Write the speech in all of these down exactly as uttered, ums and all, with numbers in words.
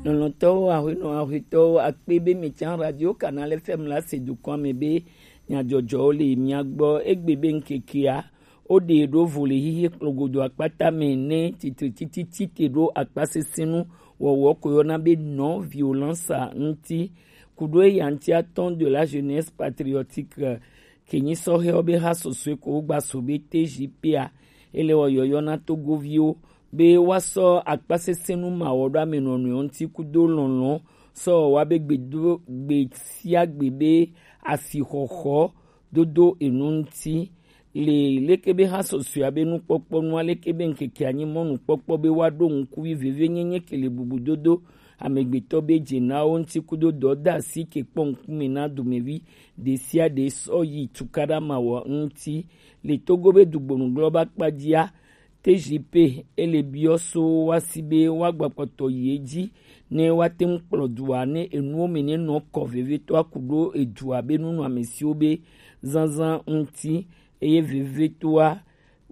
Lɔlɔ̃tɔwo, aƒenɔ, aƒetɔwo, akpe be mietsã Radio Canal F M la se dukɔa me be nyadzɔdzɔwo le mia gbɔ. Egbe be ŋkekea, woɖe ɖo vo le xexe kplɔgodo akpata me ne tsitre tititi te ɖo akpasesẽnu wɔwɔ ko yɔna be non violence ŋuti. Kuɖo eya ŋuti, atɔn de la jeunesse patriotique, ke nyi sɔhɛwo be ha sɔsɔe ko wogba so be T J P a, ele wɔ yɔyɔ na Togoviwo be woasɔ akpasesẽnu mawɔɖoamenɔnɔe ŋuti kudo lɔlɔ̃ sɔ wa be gbedo gbe sia gbe be asixɔxɔ dodo enu ŋuti. Le leke be ha sɔsɔea be nukpɔkpɔ nua, leke be ŋkeke anyi mɔnukpɔkpɔ be woaɖo ŋkuvi vevienyenye ke le bubudodo amegbetɔ be dzenawo ŋuti kudo dɔdeasi ke kpɔ ŋkume na domevi ɖe sia ɖe sɔ yi tukaɖa mawɔ ŋuti. Le Togo be dugbonu glɔ ba kpadzia, T J P ele biɔ so woasi be woagba kpɔtɔ yi edzi ne woate ŋu kplɔ dua ne enuwo me ne nɔ kɔ vevitɔa ku ɖo edua be nunɔamesiwo be zazã ŋuti, eye vevitɔa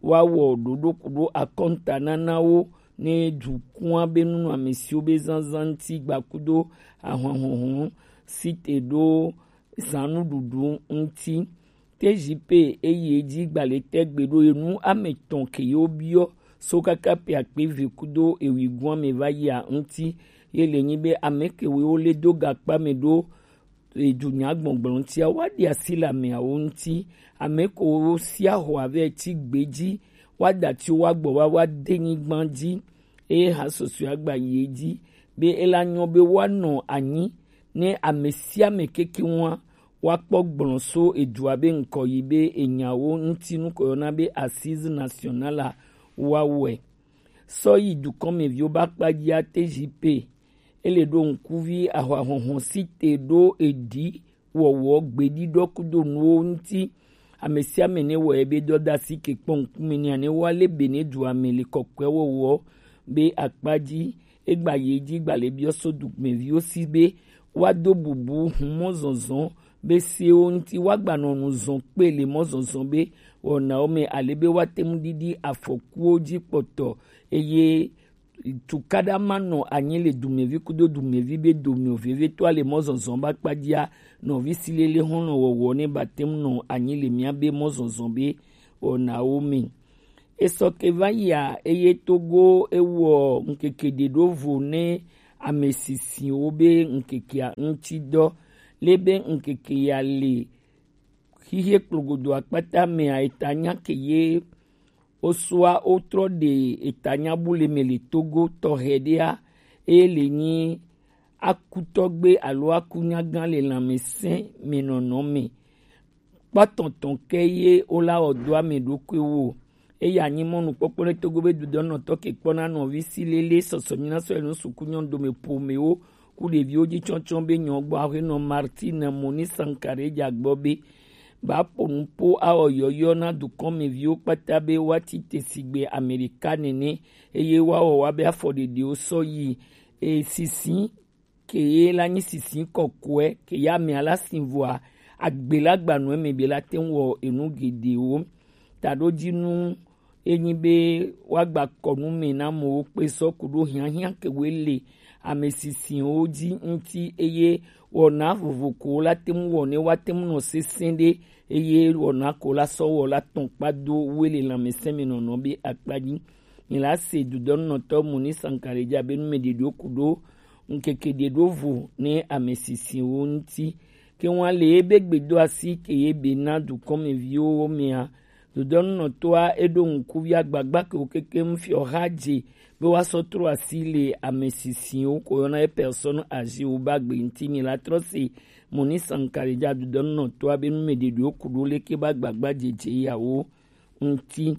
woawɔ ɖoɖo ku ɖo akɔntananawo ne dukɔa be nunɔamesiwo be zazã ŋuti gba kudo ahɔnhɔhɔ si te ɖo zãnuɖuɖu ŋuti. T J P eyi edzi gbalẽtɛ gbe ɖo enu ame etɔ̃ ke yewo biɔ so kaka pe akpe eve kudo ewui gɔ̃a me va yia ŋuti. Ye le nyi be ame kewo le do gakpa me ɖo edunya gbɔgblɔ ŋutia, woaɖi asi le ameawo ŋuti. Ame kewo sia xɔ ave ti gbe dzi, woada ti woagbɔ va woade nyigba dzi. Eye ha sɔsɔe agba yi edzi be ela nyɔ be woanɔ anyi ne ame sia ame kekeŋua woakpɔ gblɔ so edua be ŋkɔ yi be enyawo ŋuti nu ko yɔna be Assise Nationale a woawɔe. Sɔ yi dukɔmeviwo be akpadzia, T J P ele ɖo ŋkuvi ahɔahɔhɔ si te ɖo eɖi wɔwɔ gbeɖiɖɔ kudo nuwo ŋuti. Ame sia ame ne wɔ ebe dɔdeasi ke kpɔ ŋkume nɛ ne woale be ne dua me le kɔkɔe wɔwɔ be akpa dzi. Egba yi edzi gba le biɔ so dumeviwo si be woado bubu humɔ zɔzɔ be sewo ŋuti woagbanɔ nu zɔ kpe le mɔ zɔzɔ be wɔnawo me ale be woate ŋu ɖiɖi afɔkuwo dzi kpɔtɔ, eye tukaɖa manɔ anyi le dumevi kudo dumevi be dome o. Vevitɔa le mɔ zɔzɔ be akpadzia, nɔvi si lele xɔlɔ wɔwɔ ne bate ŋu nɔ anyi le mía be mɔ zɔzɔ be wɔnawo me. Esɔ ke va yia, eye Togo ewɔ ŋkeke ɖe ɖo vo ne ame sisiwo be ŋkekea ŋuti dɔ. Le be ŋkeke ya le xixie kplogodo akpata mea, eta nya ke ye osua wotrɔ ɖe eta nya bu le me le Togo tɔxɛ ɖea, eye le nyi akutɔgbe alo akunyagã le lãmesẽ me nɔnɔ me. Kpɔtɔtɔ ke ye wola wɔ do ame ɖokuiwo. Eya nyi mɔnukpɔkpɔ ɖe Togo be dudɔnɔtɔ ke kpɔna nɔvi si lele sɔsɔ nyina sɔ enu suku nyɔnu dome ƒomewo ku ɖeviwo dzi tsɔtsɔ be nyɔ gbɔ aƒenɔ Martine Moni Sankare dza gbɔ be ba ƒo nu po awɔ yɔyɔ na dukɔmeviwo kpata be woati te sigbe Amerika nene, eye woawɔ woabe afɔɖeɖewo sɔ yi e sisi ke ye la nyi sisi kɔkɔe ke ya amea la si vɔa agbe la gbanɔ eme be la te ŋu wɔ enu geɖewo. Taɖodzinu enyi be woagba kɔ nu me na amewo kpe sɔ ku ɖo hiahiã ke woe le ame sisiwo dzi ŋuti, eye wɔna vovo ko la te ŋu wɔ ne woate ŋu nɔ sesẽ ɖe, eye wɔna ko la sɔ wɔ la tɔn kpa do woe le lãmesẽ me nɔnɔ be akpa dzi. Mi la se dudɔnɔtɔ Moni Sankare dzi abe numeɖeɖewo ku ɖo ŋkeke ɖe ɖo vo ne ame sisiwo ŋuti. Ke ŋua le ebe gbedoasi ke ye be na dukɔmeviwo mea, dudɔnɔtɔa eɖo ŋkuvi agbagba ke wo keke ŋfiɔ xa dze be woasɔ trɔ asi le ame sisiwo ko yɔna ye personne âgée wo ba gbe ŋuti. Mi la trɔ se Moni Sankare dzi dudɔnɔtɔa be numeɖeɖewo ku ɖo leke ba gbagba dzedze yawo ŋuti.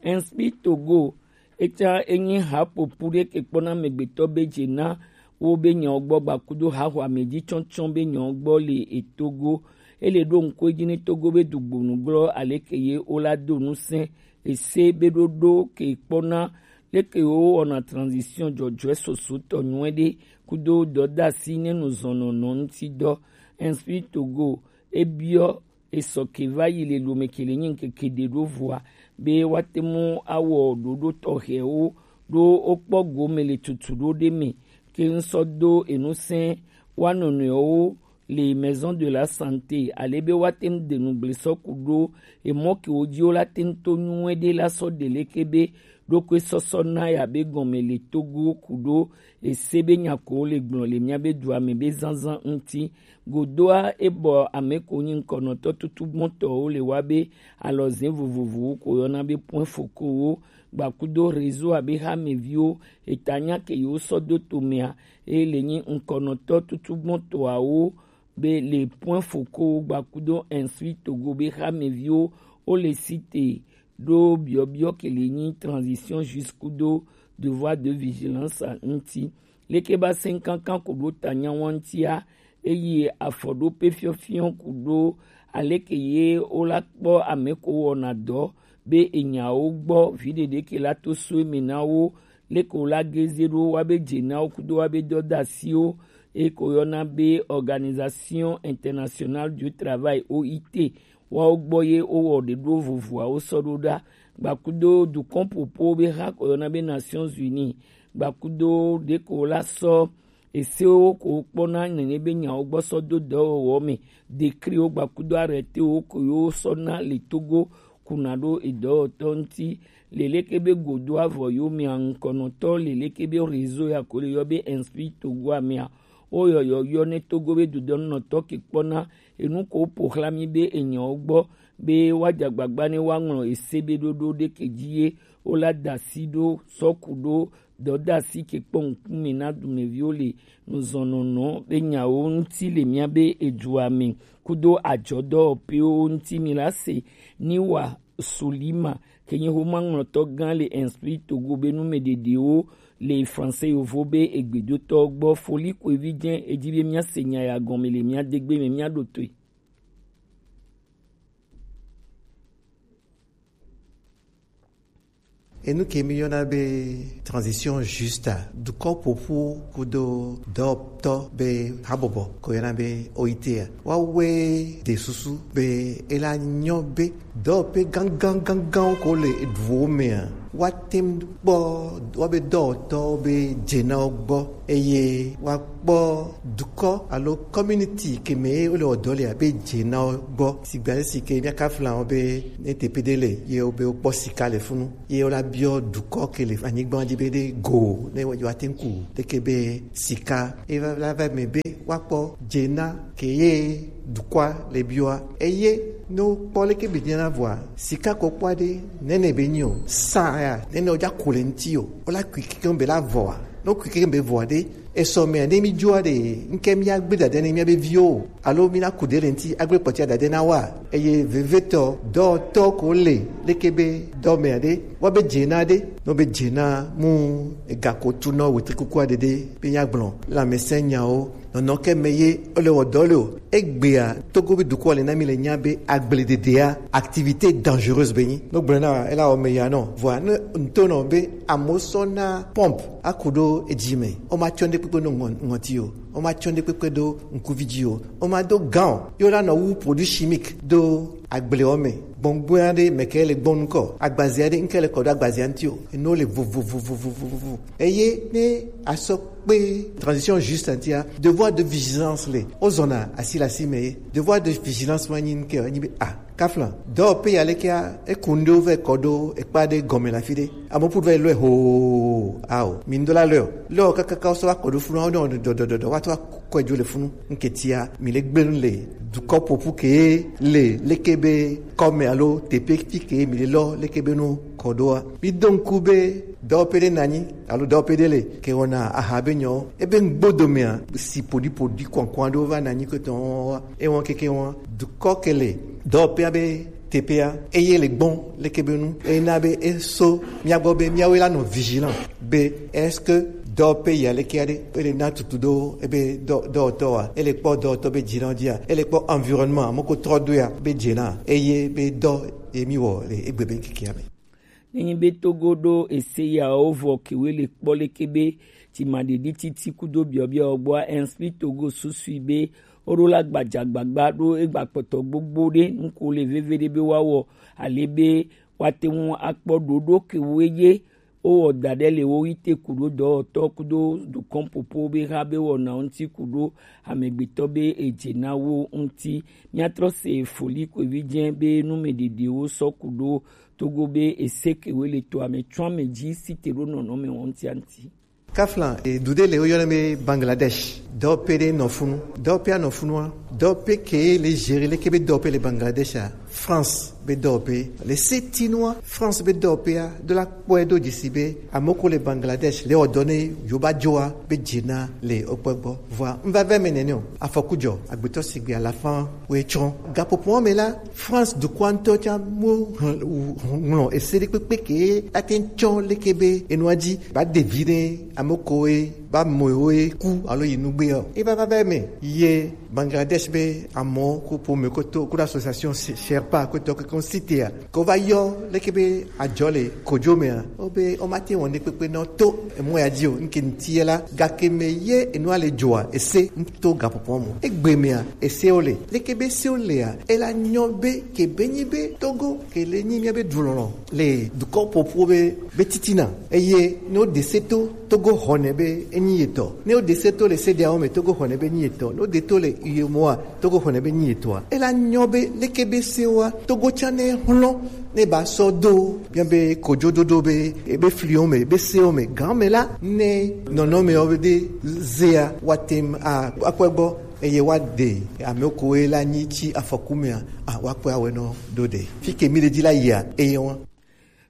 Inspire Togo, etsã enyi haƒoƒu ɖe ke kpɔna amegbetɔ be dze na wo be nyawo gbɔ gbakudo haxɔ ame dzi tsɔtsɔ be nyawo gbɔ le etogo. Ele ɖo ŋku edzi ne Togo be dugbonu glɔ aleke ye wola do ŋusẽ ese be ɖoɖo ke kpɔna leke wo wɔna transition dzɔdzɔe soso tɔ nyuie ɖe kudo dɔdasi ne nu zɔnɔnɔ ŋuti dɔ. Inspire Togo ebiɔ esɔ ke va yi le lome ke le nyi ŋkeke ɖe ɖo vɔa be woate mu awɔ ɖoɖo tɔxɛwo ɖo wokpɔ gome le tutu ɖo ɖe me ke n sɔ do enu sɛn wa nɔnɔewo le maison de la santé, ale be wa te ŋ de nu gble sɔ ku ɖo emɔ ke wo ji wo la te ŋ to nyuie ɖe la sɔ ɖe leke be ɖokui sɔsɔ na ya be gɔme le Togo ku ɖo ese be nya ko wo le gblɔ le mía be dua me be zanzan ŋuti. Godoa e bɔ ame ko nyi ŋkɔnɔtɔ tutugbɔtɔwo le wa be alɔze vovovowo ko yɔna be point focaux wo gbakudo réseau abe hameviwo eta nya ke yewo sɔ do to mea, eye le nyi ŋkɔnɔtɔ tutugbɔtɔawo be le point focaux gbakudo Instruis Togo be hameviwo wo le cité ɖo biɔbiɔ ke le nyi transition juste kudo devoir de vigilance ŋuti. Leke ba sɛn kankan ku ɖo ta nya wa ŋutia, eye afɔ ɖo pe fiɔfiɔ ku ɖo aleke ye wo la kpɔ ame ko wɔna dɔ be enyawo gbɔ vi ɖeɖe ke la to so eme na wo, leke wo la geze ɖo wa be dze na wo kudo wa be dɔdasiwo, e ko yɔna be Organisation Internationale du Travail, O I T, wa wo gbɔ ye wo wɔ ɖe ɖo vovoawo sɔ ɖo ɖa. Gbakudo dukɔn popo be ha ko yɔna be Nations Unies, gbakudo ɖe ko la sɔ esewo ko kpɔna nene be nyawo gbɔ sɔ do dɔwɔwɔ me, dekriwo gbakudo arrêtéwo ko yo sɔ na le Togo kuna ɖo edɔwɔtɔ ŋuti. Le leke be godo avɔ yo mea ŋkɔnɔtɔ le leke be réseau ya ko le yɔ be Inspire Togo amea, wo yɔyɔ yɔ ne Togo be dodɔnunɔtɔ ke kpɔna enu ko po xla mi be enyawo gbɔ be wa dza gbagba ne wa ŋlɔ ese be ɖoɖo ɖe ke dzi ye wo la da asi ɖo sɔ ku ɖo dɔdasi ke kpɔ ŋkume na dumeviwo le nuzɔnɔnɔ be nyawo ŋuti le mía be edua me kudo adzɔdɔwɔƒewo ŋuti mi la se ni wa Solima ke nye xomaŋlɔtɔ gã le Inspire Togo be numeɖeɖewo le français yovo be egbedotɔ gbɔ. Foli ko evi dze edzi be mía se nya ya gɔme le mía degbe me mía ɖo toe. Enu ke mi yɔna be transition juste, dukɔ ƒoƒu kudo dɔwɔtɔ be habɔbɔ ko yɔna be O I T a. Wa wɛ de susu be ela nyɔ be dɔwɔƒe gangan gangan ko le eduwo mea, wa tem kpɔ wa be dɔwɔtɔ be dze na wo gbɔ. Eye woakpɔ dukɔ alo community ke me wole wɔ dɔ lea be dze na wo gbɔ. Sigbe ale si ke míaka fla wo be ne teƒe ɖe le ye wobe wokpɔ sika le funu, ye wola biɔ dukɔ ke le anyigba dzi be ɖe go ne yewoate ŋu ku leke be sika ye va, va, va me be woakpɔ dze na ke ye dukɔa le biɔa. Eye ne wokpɔ leke be dze na vɔa, sika ko kpɔ aɖe nene be nyi o, sa ya nene wodza ku le ŋuti o, wola kui kekeŋ be la vɔa. Ne wokui kekeŋ be vɔa ɖe, esɔ mea ne mi dzoa ɖe, ŋke mía gbe dade ne mía be viwo o, alo mi na ku ɖe le ŋuti agbe kpɔtia dade na wa. Eye vevetɔ dɔtɔ ko le leke be dɔ mea ɖe, wa be dze na ɖe, no be dze na mu ega ko tu nɔ wetri kuku aɖe ɖe be mía gblɔ lãmesẽ nyawo. Nɔnɔ ke me ye wole wɔ dɔ le o. Egbea Togo be dukɔ le na mi le nya be agblededea activité dangereuse be nyi. No gblɔ na ela wɔ me ya nɔ. Vɔa ne ŋutɔ nɔ be amewo sɔ na pompe aku ɖo edzi me. O ma tsɔ ɖe kpekpe ɖo ŋɔ-, ŋɔti o. O ma tsɔ ɖe kpekpe ɖo ŋkuvi dzi o. O ma do gant o. Yo la nɔ wu produit chimique do agble wɔ me. Gbɔngbɔn aɖe me ke le gbɔn ŋkɔ. Agbaze aɖe ŋke le kɔ ɖo agbazea ŋuti o. Eno le vovovovovovovo. Eye ne asɔ kpe transition juste ŋutia, devoir de vigilance le. Wozɔna asi le asi me ye. Devoir de vigilance ma nyi ŋke o, enyi be, ah, kaflan. Dɔwɔƒe ya lekea, eku ŋɖewo vɛ kɔ ɖo ekpa ɖe gɔme le afi ɖe. Ame ƒu va yi lɔe hoo, ao. Mi ŋdo la lɔe o. Lɔe o kakaka wosɔ va kɔ ɖo funu, ne dɔdɔdɔdɔ, woatrɔ akɔe dzo le funu. Ŋketia, mi le gbe nu le dukɔ ƒoƒu ke le leke be kɔme alo teƒe fi ke mi le lɔ leke be nu kɔ ɖoa. Mi do ŋku be dɔwɔƒe ɖe nanyi alo dɔwɔƒe ɖe le ke wɔna aha be nyɔ ebe ŋgbodomea si ƒoɖiƒoɖi kɔnkɔn aɖewo va nanyi ke tɔn wa. Ewɔn keke wɔn dukɔ ke le dɔwɔƒea be teƒea eye le gbɔn leke be nu eye na be eso mía gbɔ be míawoe la nɔ vigilant be est-ce que dɔwɔƒe ya leke aɖe ele na tutu ɖo ebe dɔ dɔwɔtɔ wa ele kpɔ dɔwɔtɔ be dzi na dzia ele kpɔ environnement moko trɔ do ya be dze na eye be dɔ ye mi wɔ le egbe be keke ame. Nenye be Togo ɖo ese yawo vɔ kewoe le kpɔ leke be dzimaɖiɖi titi kudo biɔbiɔ gbɔa, Inspire Togo susui be woɖo la gbadzagbagba ɖo egba kpɔtɔ gbogbo ɖe nuko le veve ɖe be woawɔ ale be woate ŋu akpɔ ɖoɖo kewoe ye Wowɔ da ɖe le wo yi te kuɖo dɔwɔtɔ kudo dukɔn popo be ha be wɔna ŋuti kudo amegbetɔ be edze na wo ŋuti. Míatrɔ se foli ko evi dze be numedede wo sɔ kudo Togo be ese ke wo le to ame tsɔ ame dzi si te ɖo nɔnɔme wɔn ŋuti. Kafla, e, du ɖe le woyɔna be Bangladesh. Dɔwɔƒe ɖe nɔ funu. Dɔwɔƒea nɔ funua. Dɔwɔƒe ke le gérer leke be dɔwɔƒe le Bangladesh a. France be dɔwɔƒe. Le setinua, France be dɔwɔƒea, do la kpɔe do dzisi be, amoko le Bangladesh, le ɔdɔ ne yoba joa, be dze na le okpɔ gbɔ. Vɔa, n va vɛ me nene o. Afɔku dzɔ, agbetɔ sigbe alafa we tsrɔ̃. Gaƒoƒoa me la, France dukɔa ŋutɔ tsã mo hlẽ-, ŋlɔ ese ɖe kpekpe ke ate ŋu tsɔ leke be enua dzi ba ɖevi ɖe ame koe ba mɔe woe ku alo yi nugbe o. Eva va va eme ye Bangladesh be amɔ ko ƒome ko to ko association Sherpa ko tɔ ko sitea ko va yɔ leke be adzɔ le kodzo mea, wo be wo mate wɔn ɖe kpekpe nɔ to emɔ ya dzi o. Nke ŋuti ye la, gake me ye enua le dzoa, ese to gaƒoƒoa me. Egbe mea, esewo le. Leke be sewo lea, ela nyɔ be ke be nyi be Togo ke le nyi mía be dulɔlɔ le dukɔ ƒoƒuwo be, be titina. Eye ne woɖe se to, Togo xɔnɛ be enyi yetɔ. Ne woɖe se to le sedeawo me, Togo xɔnɛ be enyi yetɔ. Ne woɖe to le U E M O A, Togo xɔnɛ be enyi yetɔa. Ela nyɔ be leke be sewoa, Togo tsã ne xlɔ ne ba sɔ do bia be kojododo be ebe fliwo me, ebe sewo me, gan me la, ne nɔnɔmewo be de zea, woate ŋu a-, akpɔe gbɔ, eye woaɖe ame koe la nyi tsi afɔku mea, a, woakpɔe awɔe nɔ do ɖe. Fi ke mi le dzi la yia, eye wa.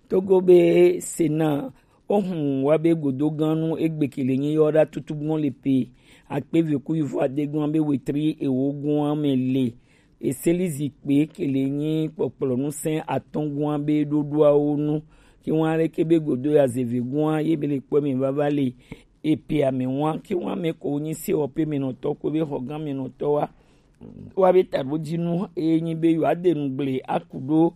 Togo be Sena, ohun wa be godo ganu egbe ke le nyi yɔ ɖa tutu gbɔn le pe akpe ve ku yivo ade gbɔn be wetri ewo gbɔn me le. Eseli zikpe ke le nyi kpɔkplɔ nusẽ atɔ̃ gɔ̃a be ɖoɖoawo nu. Ke ŋu aleke be godo ya zeve gɔ̃a ye be le kpɔ me vava le epe ame ŋua. Ke ŋu ame ko nyi sewɔƒe me nɔtɔ ko be xɔgã me nɔtɔ wa. Wa be taɖodzinu eye nyi be yewoa de nugble aku ɖo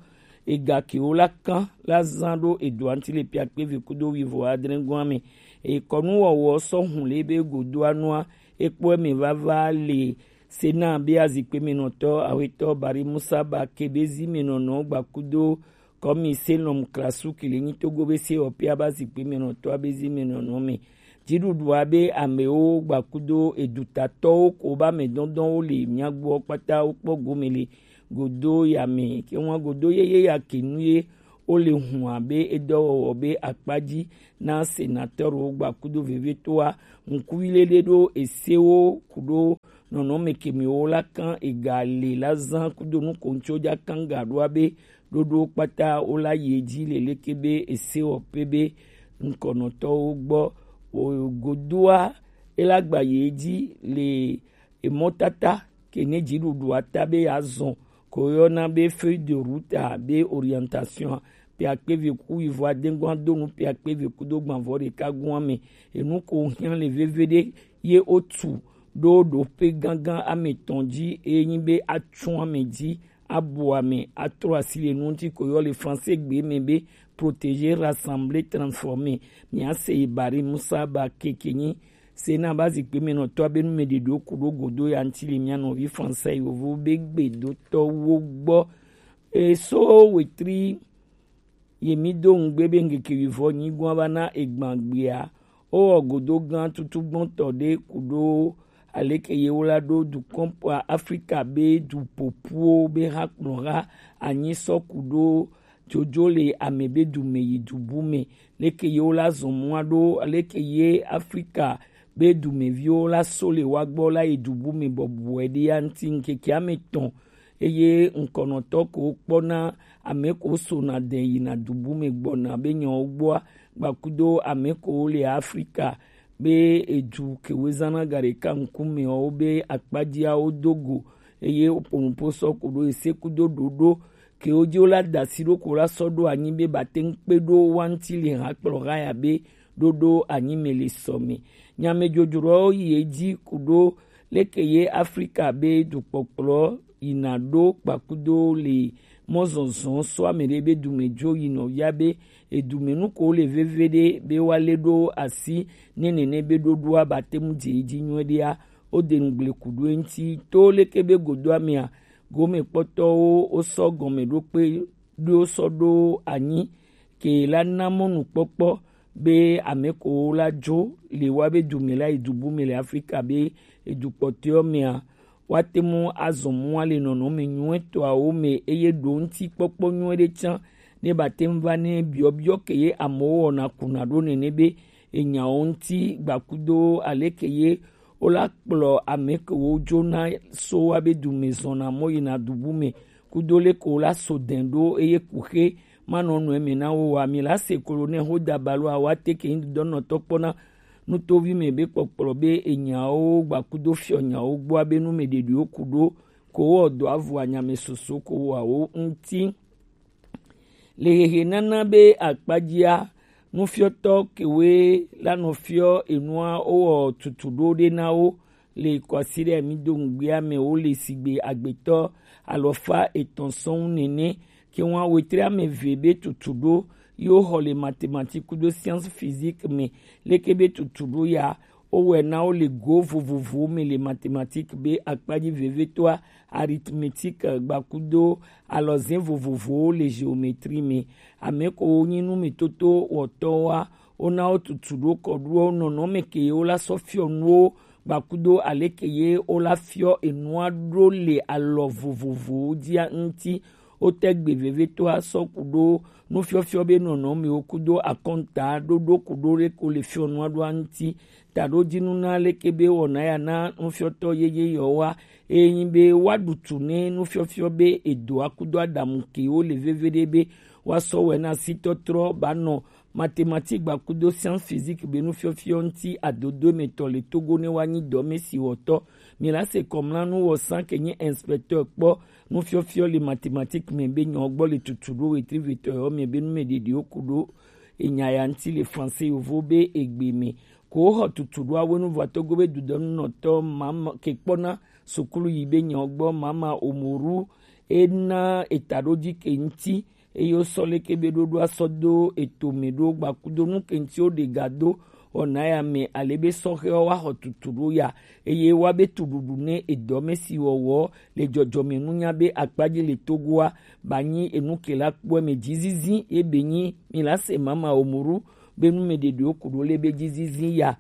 ega kewo la kan la zã ɖo edoa ŋuti le pe akpe ve kudo wivo adre gɔ̃a me. Ekɔnuwɔwɔ sɔ hun le be godoa nua ekpɔ me vava le Sena be azikpe me nɔtɔ, awetɔ Bari Musa ba ke be zi me nɔnɔ gbakudo kɔmi Selɔm Klasu ke le nyi Togo be sewɔƒea be azikpe me nɔtɔ abe zi me nɔnɔ me. Dziɖuɖua be amewo gbakudo edutatɔwo ko be ame dɔdɔwo le mia gbɔ kpata wokpɔ gome le godo ya me. Ke ŋua godo yeye ya ke nu ye wole hun abe edɔwɔwɔ be akpa dzi na senatɔrwo gbakudo vevitoa ŋkuvi lele ɖo esewo kuɖo nɔnɔme kemiwo la kan ega le la zã kudo nu ko ŋutsi wo dza kan ga ɖoa be ɖoɖo kpata wo la yi edzi le leke be esewɔƒe be ŋkɔnɔtɔwo gbɔ. O godoa ela gba yi edzi le emɔtata ke ne dziɖuɖua ta be yeazɔ ko yɔna be feuille de route a be orientation pe akpe ve ku yivo adengɔa do nu pe akpe ve kudo gbanvɔ ɖeka gɔ̃a me. Enu ko hiã le veve ɖe ye wotu ɖo ɖoƒe gãgã ame etɔ̃ dzi eye nyi be atsu ame dzi abu ame atrɔ asi le nu ŋuti ko yɔ le français gbe me be protéger, rassembler, transformer. Mia se yi Bari Musa ba keke nyi Sena ba zikpe me nɔtɔ abe nu me ɖeɖo ku ɖo godo ya ŋuti le mia nɔvi français yovo be gbedotɔwo gbɔ. Eso wetri ye mi do ŋugbe be ŋkeke wivɔ nyi gɔ̃a va na egban gbea, wowɔ godo gã tutugbɔntɔ ɖe ku ɖo aleke ye wo la ɖo dukɔn kpɔa Afrika be du ƒoƒuwo be ha kplɔ ha anyi sɔ ku ɖo jojo le ame be du me yi du bu me. Leke ye wo la zɔ mɔa ɖo, aleke ye Afrika be dumeviwo la so le wa gbɔ la yi du bu me bɔbɔe ɖe ya ŋuti ŋkeke ame etɔ̃ eye ŋkɔnɔtɔ ko kpɔna ame ko sona de yina du bu me gbɔna be nyawo gbɔa gbakudo ame ko le Afrika be edu kewo zãna ga ɖeka ŋkumewo be akpadziawo do go eye woƒo nuƒo sɔ ko ɖo ese kudo ɖoɖo kewo dzi wo la da asi ɖo ko la sɔ ɖo anyi be ba te ŋu kpe ɖo wa ŋuti le hakplɔ ha ya be ɖoɖo anyi me le sɔ me. Nyamedzodzroawo yi edzi ku ɖo leke ye Afrika be dukpɔkplɔ yina ɖo kpakudo le mɔzɔzɔ sɔ ame ɖe be dumedzo yi nɔvia be edume nuko le veve ɖe be woalé ɖo asi ne nene be ɖoɖoa ba te ŋu dze edzi nyuie ɖea, wode ŋugble ku ɖo eŋuti. To leke be godoa mea, gomekpɔtɔwo wosɔ gɔmeɖokpe ɖo sɔ ɖo anyi ke la na mɔnukpɔkpɔ be ame ko la jo le wa be du me la yi du bu me le Afrika be edu kpɔtɔewo mea, woate ŋu azɔ mɔ le nɔnɔme nyuietɔawo me eye ɖo ŋutikpɔkpɔ nyui ɖe tsã ne bate ŋu va ne biɔbiɔ ke ye amewo wɔna kuna ɖo nene be enyawo ŋuti gbakudo aleke ye wola kplɔ ame kewo dzona so wa be du me zɔna mɔ yina du bu me kudo leke wola so dɛn ɖo eye kuxe manɔ nɔ eme na wo wa mi la se kolo ne ho da balo awa te ke ŋdɔ nɔtɔ kpɔna nutovi me be kpɔkplɔ be enyawo gbakudo fiɔ nyawo gbɔ abe nu me ɖeɖiwo ku ɖo ko wɔ dɔ avu anyame soso ko wɔ awo ŋuti. Le hehe nana be akpadzia, nufiɔtɔ kewoe la nɔ fiɔ enua wowɔ tutu ɖo ɖe na wo le kɔsi ɖe mi do ŋugbea me wo le sigbe agbetɔ alɔfa etɔn sɔn nene ke ŋua wetre ame ve be tutu ɖo yo xɔ le mathématique kudo science physique me leke be tutu ɖo ya wowɔe na wo le go vovovowo me le mathématique be akpadzi vevitɔa arithmétique gbakudo alɔzẽ vovovowo le géométrie me. Ame ko wo nyi nu me toto wɔtɔwoa wona wo tutu ɖo kɔ ɖo nɔnɔme ke wo la sɔ fiɔ nuwo gbakudo aleke ye wo la fiɔ enua ɖo le alɔ vovovowo dzia ŋuti. Wote gbe vevitɔa sɔ ku ɖo nufiɔfiɔ be nɔnɔmewo kudo akɔnta ɖoɖo ku ɖo ɖe ko le fiɔ nua ɖoa ŋuti. Taɖo dinu na leke be wɔna ya na nufiɔtɔ yeye yɔwa eye nyi be woaɖu tu ne nufiɔfiɔ be edoa kudo aɖamu ke wo le veve ɖe be woasɔ wɛ na sitɔtrɔ ba nɔ mathématique gbakudo science physique be nufiɔfiɔ ŋuti adodo emetɔ le Togo ne woanyi dɔme si wɔtɔ. Mi la se kɔmlanu wɔ san ke nye inspecteur kpɔ nufiɔfiɔ le mathématique me be nyɔ gbɔ le tutu ɖo wetri vetɔ yɔ me be nu me ɖeɖiwo ku ɖo enya ya ŋuti le français yovo be egbe me. Ko xɔ tutu ɖo awo nu vɔ Togo be dudɔnunɔtɔ mama ke kpɔna sukulu yi be nyɔ gbɔ mama omoru ena eta ɖo dzi ke ŋuti eye wosɔ leke be ɖoɖoa sɔ do eto me ɖo gbakudo nu ke ŋuti woɖe ga do wɔna ya me ale be sɔhɛwo woaxɔ tutu ɖo ya eye woabe tuɖuɖu ne edɔme si wɔwɔ le dzɔdzɔme nunya be akpadzi le Togoa ba nyi enu ke la kpɔe me dzizizi ye be nyi mi la se mama omuru be nu me ɖeɖewo ku ɖo le be dzizizi ya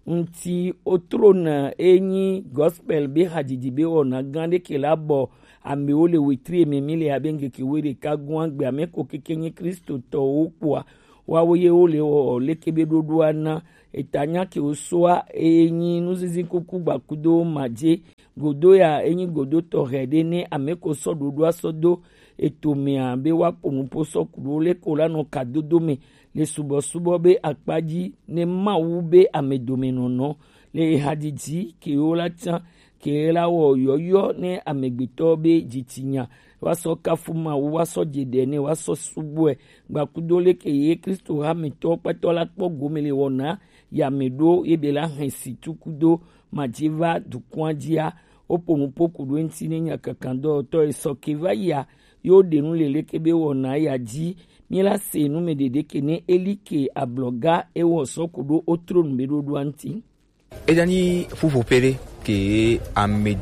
ŋuti wotrona enyi gospel be hadzidzi be wɔna gã ɖe ke la bɔ amewo le wetri eme mi le abe ŋkeke wo ɖeka gɔ̃a gbe ame ko keke nyi kristotɔwo kpoa woawo ye wo le wɔ leke be ɖoɖoa na eta nya ke wo soa eye nyi nuzizi kuku gbakudo madze godo ya enyi godo tɔxɛ ɖe ne ame ko sɔ ɖoɖoa sɔ do eto mea be woaƒo nuƒo sɔ ku ɖo leke wo la nɔ kadodo me le subɔsubɔ be akpa dzi ne Mawu be amedomenɔnɔ le hadzidzi kewo la tsã ke la wɔ yɔyɔ ne amegbetɔ be dzitsinya woasɔ kafu Mawu woasɔ dze ɖe ne woasɔ subɔe gbakudo leke ye Kristo hametɔ kpɛtɔ la kpɔ gome le wɔna ya me ɖo ye be la hɛn si tukudo madzi va dukɔa dzia woƒo nuƒo ku ɖo eŋuti ne nya kankan dɔwɔtɔ esɔ ke va yia yo ɖe nu le leke be wɔna ya dzi mi la se nu me ɖeɖe ke ne eli ke ablɔga ewɔ sɔ ku ɖo wotro nu be ɖoɖoa ŋuti. Eya nyi ƒuƒoƒe ɖe ke ame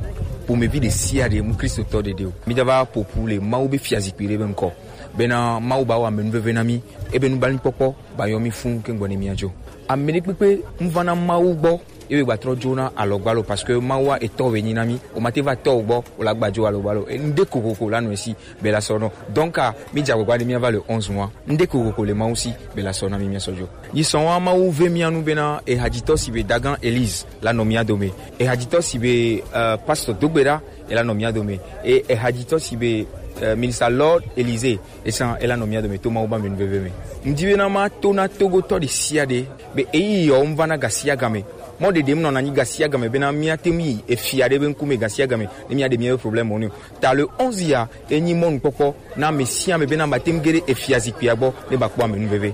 ƒomevi ɖe sia ɖe mu kristotɔ ɖeɖe o. Mi da va ƒoƒu le Mawu be fiazikpui ɖe be ŋkɔ. Bena Mawu ba wɔ amenuveve na mi, ebe nublanuikpɔkpɔ ba yɔ mi fũ ke ŋgɔ ne miadzo. Ame ɖe kpekpe ŋu va na Mawu gbɔ ebe gbatrɔ dzo na alɔgbalo parce que Mawu etɔ be nyi na mi. O ma te va tɔ gbɔ o la gbadzo alɔgbalo. Ŋde kokoko la nɔ esi be la sɔ nɔ. Donc mi dza gbagba ɖe mi va le onze mois. Ŋde kokoko le Mawu si be la sɔ na mi mia sɔ dzo. Yi sɔn wa Mawu ve mia nu bena ehadzitɔ si be Dagan Elise la nɔ mia dome. Ehadzitɔ si be uh, Pastor Dogbeɖa e la nɔ mia dome. E ehadzitɔ si be uh, Minister Lord Elise esan e la nɔ mia dome to Mawu ba me nuveve me. Ŋdi bena ma to na Togotɔ ɖe sia ɖe be eyi yɔ ŋva na gasia game. Mɔ ɖeɖe ŋnɔ na nyi gasia game bena mia te ŋu yi efia ɖe be ŋkume gasia game ne mia ɖe mia be problème o ne. Ta le onze ya enyi mɔnukpɔkpɔ na ame sia ame bena mate ŋu ge ɖe efia zikpuia gbɔ ne ba kpɔ amenuveve.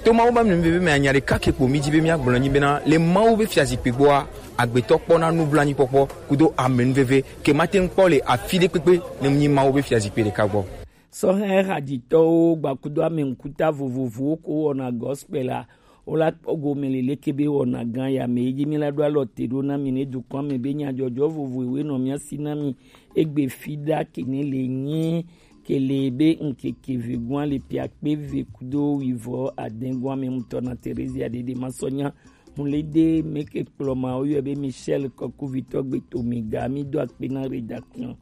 To Mawu be amenuveve me anya ɖeka ke kpo mi dzi be mia gblɔ nyi bena le Mawu be fia zikpui gbɔa agbetɔ kpɔna nublanuikpɔkpɔ kudo amenuveve ke mate ŋu kpɔ le afi ɖe kpekpe ne mu nyi Mawu be fia zikpui ɖeka gbɔ. Sɔhɛ hadzitɔwo gbakudo ame ŋkuta vovovowo ko wɔna gospel a Wola kpɔ gome le leke be wɔna gã ya me. Eyi dzi mi la ɖo alɔ te ɖo na mi ne dukɔa me be nyadzɔdzɔ vovovoe nɔ mia si na mi. Egbe fi ɖa ke ne le nyi Kele be ŋkeke vegun ale piakpe ve kudo wivɔ adengua me mutɔ na Terezia dede masɔnya. Mulede meke kplɔma oyɔ be Michel Kɔkuvitɔ gbe to mi ga mi do akpe na rédaction.